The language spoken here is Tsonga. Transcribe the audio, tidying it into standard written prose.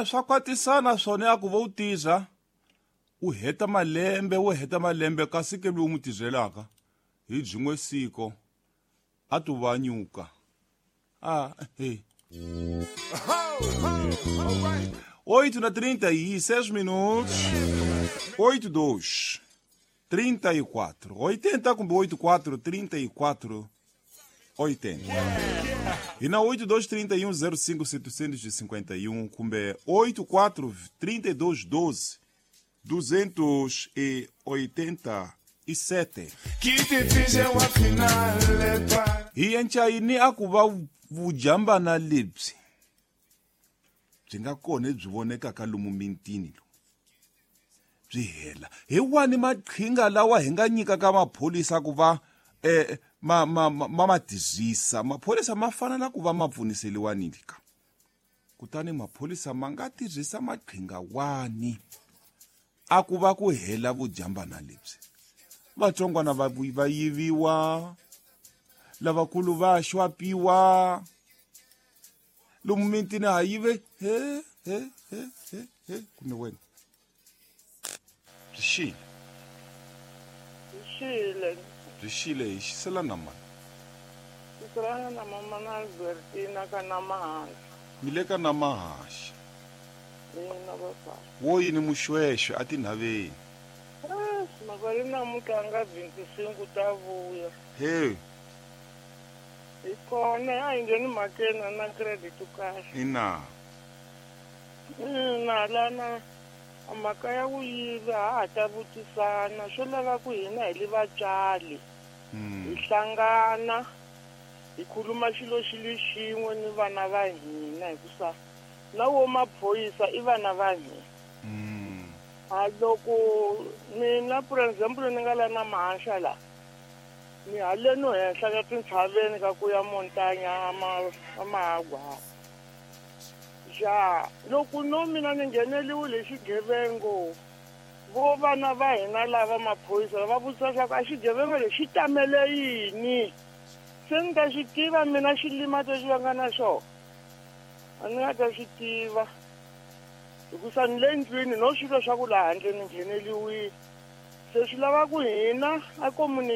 Swa kwatisana swona a ku va u tirha u heta malembe wo heta malembe kasi ke lowu n'wi tirhelaka hi byin'we siko a to va nyuka a he 8 na 36 minutos 8 2 34 80 kumbe 84 34 80 e na 82 31 05 751 kumbe 84 32 12 287 hi enca yini a ku va vujambana lebyi byi nga kona lebyi vonekaka lomu mintini lomu byi hela hi wani maqhinga lawa hi nga nyikaka maphorisa ku va ma ma ma ma tirhisa maphorisa ma fanela ku va ma pfuniseliwa nini ka kutani maphorisa ma nga tirhisa maqhinga wani a ku va ku hela vujambana lebyi vatsongwana va va yiviwa lavakulu va xwapiwa lomu mitini ha yive he he he he he kumbe wena byi xile Byi xile. Byi xile hi xisela na mani? Xiselana na mama na Albertina ka Namahaxa. Mi le ka Namahaxa. Ina papa. Wo yini muxwexwe a tinhaveni? Eish, mhaka le namuntlha a nga 25 ta vuya. He. Hi kona a hi ngheni mhakeni a na credit kahle. Ina. Ina lana mhaka ya ku yiva ha ha ta vutisana swo lava ku hina hi li vatswari hi hlangana hi khuluma xilo xi li xin'we ni vana va hina hikusa na wo maphorisa i vana va hina. A loko mina for example ni nga la na mahaxa la ni haleno henhla ka tintshaveni ka ku ya montanya amahagwa. Ja, loko no mina ni ngheneliwile hi xigevengo, vo vana va hina lava maphorisa va vutisa swa ku a xigevengo lexi xi tamele yini? Se ni ta xi tiva mina xilima lexi va nga na xona. A ni nga ta xi tiva. Hikusa ni le ndlwini no swi twa swa ku laha handle ni ngheneliwile. Se swi lava ku hina a community.